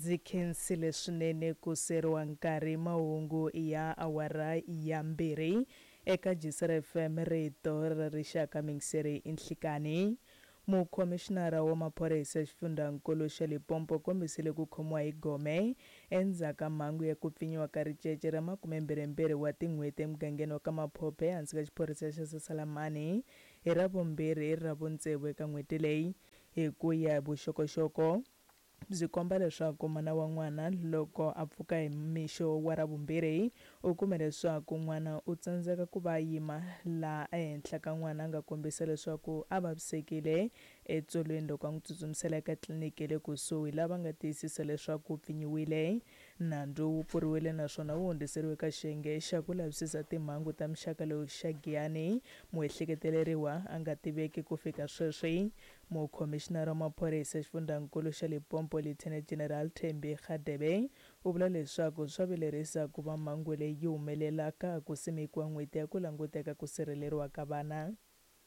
Ndzi khensile swinene ku seriwa nkarhi mahungu ya awara ya mbirhi eka Jisr FM rito ra rixaka mingiseri i nhlikani. Mukhomixinara wa maphorisa exifundzhankulu xa Limpopo u kombisile ku khomiwa hi gome endzhaku ka mhangu ya ku pfinyiwa ka ricece ra makumembirhimbirhi wa tin'hweti emugangeni wa ka Maphophe ehansi ka xiphorisa xa Sasalamani hi Ravumbirhi ra vuntsevu eka n'hweti leyi hi ku ya hi vuxokoxoko Byi komba leswaku mana wa n'wana loko a pfuka hi mixo wa Ravumbirhi u kume leswaku n'wana u tsandzeka ku va a yima laha ehenhla ka n'wana a nga kombisa leswaku a vavisekile etsolweni loko a n'wi tsutsumisela eka tliliniki ya le kusuhi laha va nga tiyisisa leswaku u pfinyiwile. Nandzu wu pfuriwile naswona wu hundziseriwe eka xiyenge xa ku lavisisa timhangu ta muxaka lowu xa Giyani. Muehleketeleriwa a nga tiveki ku fika sweswi. Mukhomixinara wa maphorisa exifundzhankulu xa Limpopo Lieutenant General Thembi Radebe u vula leswaku swa vilerisa ku va mhangu leyi yi humelela ka ha ku simekiwa n'hweti ya ku languteka ku sirheleriwa ka vana.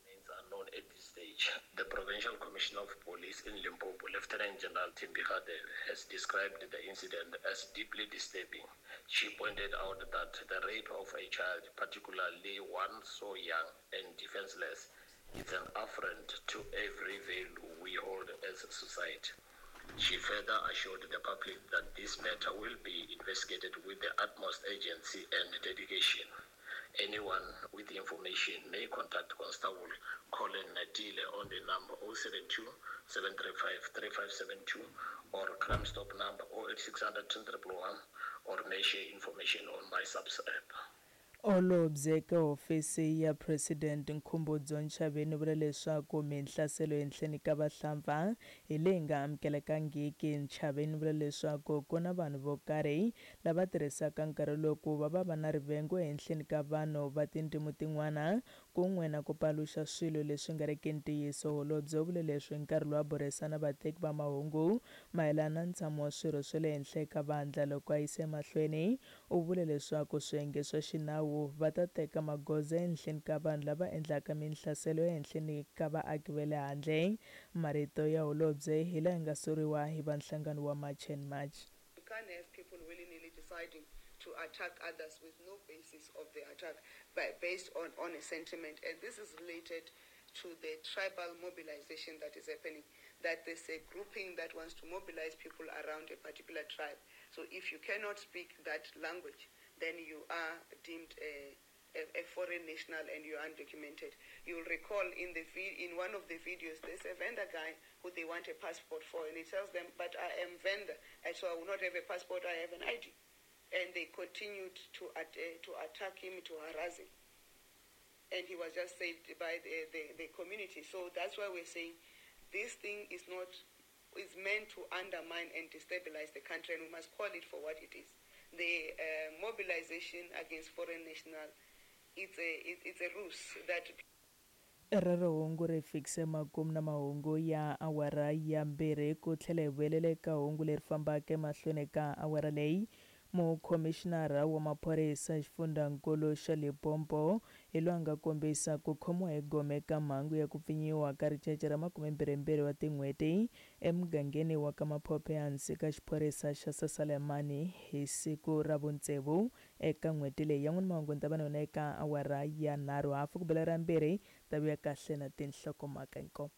Remains unknown at this stage. The Provincial Commissioner of Police in Limpopo, Lieutenant General Thembi Radebe, has described the incident as deeply disturbing. She pointed out that the rape of a child, particularly one so young and defenseless, is an affront to every value we hold as a society. She further assured the public that this matter will be investigated with the utmost urgency and dedication. Anyone with information may contact Constable Colin Natile on the number 072 735 3572 or Crime Stop number 08600 111 or may share information on my subs app. Holobye eka Hofisi ya President Nkhumbudzo Ntshavheni u vula leswaku minhlaselo ehenhleni ka vahlampfa hi leyi nga amukelekangiki. Ntshavheni u vula leswaku ku na vanhu vo karhi lava tirhisaka nkarhi lowu ku va va va na rivengo ehenhleni ka vanhu va tindzimi tin'wana kun'we na ku paluxa swilo leswi nga riki ntiyiso. Holobye u vule leswi hi nkarhi lowu a burisana na vateki va mahungu mayelana na ntshamo wa swirho swa le henhla eka vandla. Loko a yisa emahlweni U vule leswaku swiyenge swa xinawu va ta teka magoza ehenhleni ka vanhu lava endlaka minhlaselo ehenhleni ka vaaki va le handle. Marito ya holobye hi laha nga soriwa hi va nhlangano wa March and March. You can't have people willy-nilly deciding to attack others with no basis of the attack, but based on, on a sentiment. And this is related to the tribal mobilization that is happening, that there's a grouping that wants to mobilize people around a particular tribe. So if you cannot speak that language, then you are deemed a, a, a foreign national and you're undocumented. You'll recall in the in one of the videos, there's a Venda guy who they want a passport for, and he tells them, "But I am Venda, and so I will not have a passport. I have an ID." And they continued to to attack him, to harass him, and he was just saved by the, the, the community. So that's why we're saying this thing is not is meant to undermine and destabilize the country, and we must call it for what it is. The mobilization against foreign national, it's a, it, it's a ruse that Rero hungu ri fikise makumu na mahungu ya awara ya mbirhi ku tlhela hi vuyelela eka hungu leri fambaka emahlweni ka awara leyi. Mukhomixinara wa maphorisa exifundzhankulu xa Limpopo hi loyi a nga kombisa ku khomiwa hi gome ka mhangu ya ku pfinyiwa ka ricece ra makumembirhimbirhi wa tin'hweti emugangeni wa ka Maphophe ehansi ka xiphorisa xa Sasalemani hi siku ra vuntsevu eka n'hweti leyi. Yan'wana mahungu ni ta va na yona eka awara ya nharhu hafu ku bela ra mbirhi ta vuya kahle na tinhlokomhaka inkomu.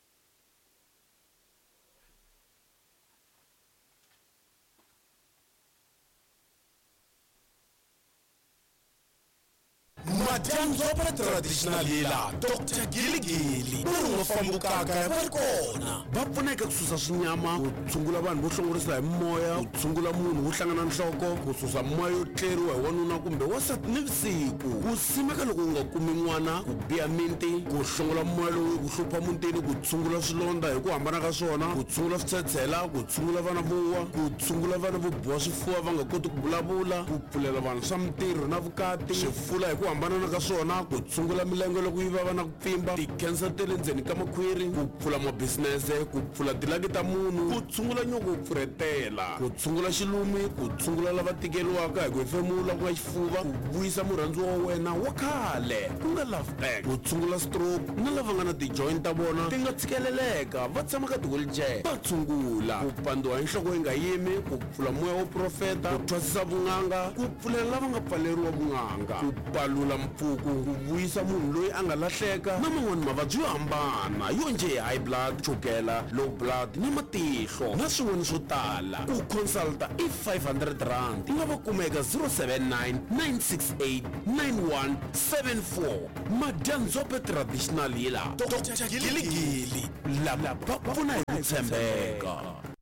Madyambu va traditional healer Dr Giligili u ri nga fambukaka va ri kona va pfuneka ku susa swinyama ku tshungula vanhu vo hlongorisa hi moya ku tshungula munhu wo hlangana nhloko ku susa moya yo tleriwa hi wanuna kumbe wansati ni vusiku ku simeka loko u nga kumi n'wana ku biha minti ku hlongola moya lowu ku hlupha mutini ku tshungula swilondza hi ku hambana ka swona ku tshungula switshetshela ku tshungula vana vo wa ku tshungula vana vo biwa swifuva va nga koti ku vulavula ku pfulela vanhu swa mintirho na vukati swifula hi ku hambanana ka ka swona ku tshungula milenge loko yi vava na ku pfimba tikhensa ta le ndzeni ka makhwiri ku pfula mabisinese ku pfula tilaki ta munhu ku tshungula nyoko wo pfurhetela ku tshungula xilumi ku tshungula lava tikeriwaka hi ku hefemula ku nga xifuva ku vuyisa murhandziwa wa wena wa khale ku nga love back ku tshungula stroke na lava nga na ti-joint ta vona ti nga tshikeleleka va tshama ka ti-wheelchair va tshungula ku pandziwa hi nhloko yi nga yimi ku pfula moya wo profeta ku thwasisa vun'anga ku pfulela lava nga pfaleriwa vun'anga ku palula mpfuku ku vuyisa munhu loyi a nga lahleka na man'wani mavabyi yo hambana yo njhe hi high blood chukela low blood na matihlo na swin'wana swo tala ku consulta i 500 rand i nga va kuma eka 079 968 9174 Madyandzhope Traditional Healer Dr Giligili lava va pfuna hi ku tshembeka.